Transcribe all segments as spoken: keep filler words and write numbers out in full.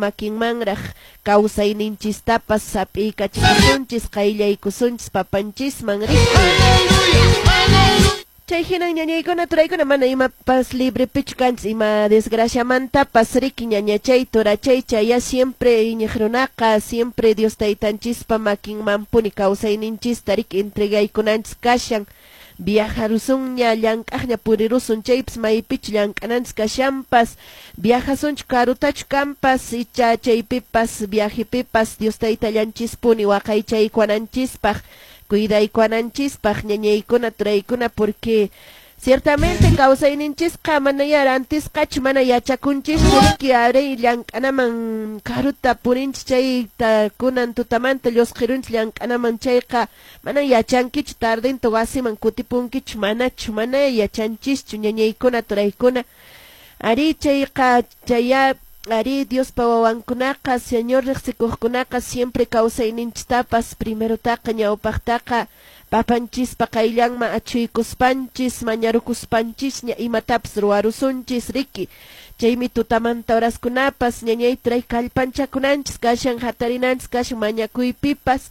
makinmanraq kawsayninchistapas sap'iykachisunchis, qayllaykusunchis papanchisman riki. Chay hinan ñañaykuna turaykuna mana imapas librepichu kanchis ima desgraciamantapas riki ñañachay turachay chaya siempre iñiq runaqa siempre Dios taytanchispa makinmanpuni kawsayninchista riki entregaykunanchis kashan. Viajarusunña llank'aqña purirusun chaypas maypichu llank'ananchis kashanpas viajasunchu karutachu kanpas icha chaypipas viajepipas Dios taytallanchispuni waqaychaykuwananchispaq cuidaykuwananchispaq ñañaykuna turaykuna porque ciertamente kawsayninchisqa mana rantisqachu mana yachakunchischu riki aray llank'anaman karuta purinchis chayta kunan tutamanta llusqirunchis llank'anaman chayqa mana yachankichu tardinta wasiman kutipunkichu manachu mana yachanchischu ñañaykuna turaykuna ari chayqa chaya ari Diospa wawankunaqa Señor riqsikuqkunaqa siempre kawsayninchistapas primerotaqa ñawpaqtaqa papanchispa qayllanman achuykuspanchis mañarukuspanchisña imatapas ruwarusunchis riki chaymi tutamanta horaskunapas ñañay turay kallpanchakunanchis kashan hatarinanchis kashan mañakuypipas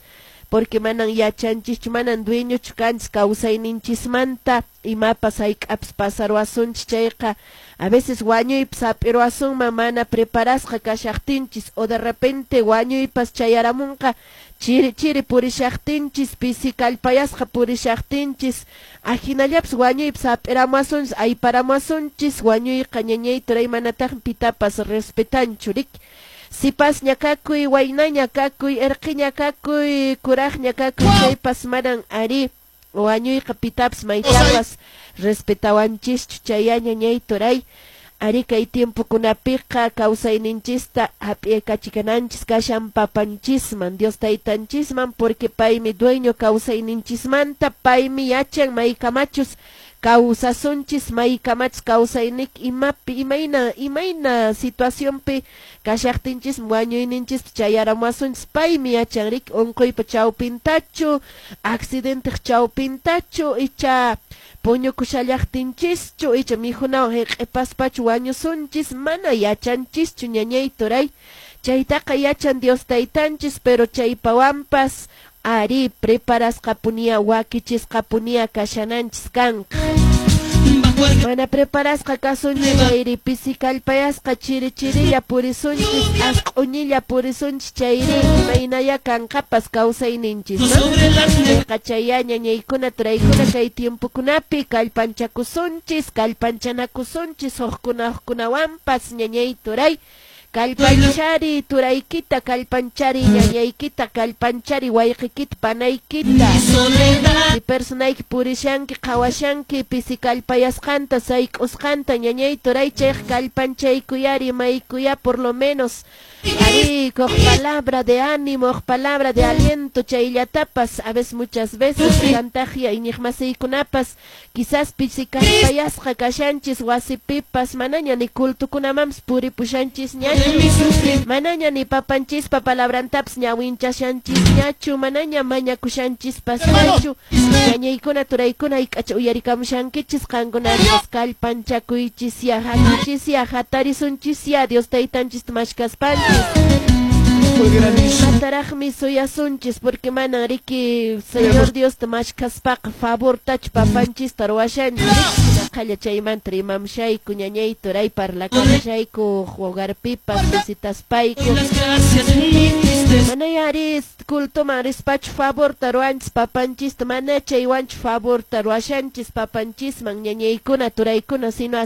porque manan yachanchischu manan dueñochu kanchis kawsayninchismanta imapas hayk'apas pasaruwasunchis chayqa a veces wañuypas hap'iruwasunman mana preparasqa kashaqtinchis o de repente wañuypas chayaramunqa chiri chiri purishaqtinchis pisi kallpayasqa purishaqtinchis ajinallapas wañuypas hap'iramuwasunchis ayparamuwasunchis wañuyqa ñañay turay manataqmi pitapas respetanchu riki sipasña kakuy waynaña kakuy erqiña kakuy kuraqña kakuy chaypas manan ari wañuyqa pitapas maytapas respetawanchischu chaya ñañay turay ari kay tiempokunapiqa kawsayninchista hap'iykachikananchis kashan papanchisman Dios taytanchisman porque paymi dueño kawsayninchismanta paymi yachan maykamachus kawsasunchis maykamachus kawsaynik imapi imayna imayna situacionpi kashaqtinchis wañuyninchispi chayaramuwasunchis paymi yachan riki unquypa chawpintachu accidenteq chawpintachu icha puñukushallaqtinchischu icha mikhunawan hiq'ipaspachu wañusunchis mana yachanchischu ñañay turay chaytaqa yachan Dios taytanchis pero chaypawanpas ari preparasqapunia wakichisqapunia kashananchis kanqa mana preparasqa kasunchis chayri pisi kallpayasqa chiri chirilla purisunchis asq'uñilla purisunchis chayri imaynaya kanqapas kawsayninchis no chayqa chaya ñañaykuna turaykuna kay tiempokunapi kallpanchakusunchis kallpanchanakusunchis hukkuna hukkunawanpas ñañay turay kallpanchari turaykita kallpanchari ñañaykita kallpanchari wayqikita panaykita si personayki purishanki qhawashanki pisi kallpayasqanta sayk'usqanta ñañay turay chayqa kallpanchaykuyari maykuya por lo menos ari huk palabra de ánimo huk palabra de aliento chayllatapas a veces muchas veces kantaqya iñiqmasiykunapas quizás pisi kallpayasqa kashanchis wasipipas manaña ni cultukunamanpas puripushanchis ñachu manaña ni papanchispa palabrantapas ñawinchashanchis ñachu manaña mañakushanchispas ñachu ñañaykuna turaykuna hayk'acha uyarikamushankichis qankunapas kallpanchakuychisya hakuchisya hatarisunchis Dios taytanchista mashkaspanchis mataraqmi suyasunchis porque manan riki Señor Dios ta mashkaspaqa favortachu papanchista ruwashanchis qhalla chaymanta rimamushayku ñañay turay parlakamushayku hogarpipas visitaspayku manaya ari cultoman rispachu favorta ruwanchis papanchista mana chaywanchu favorta ruwashanchis papanchisman ñañaykuna turaykuna sino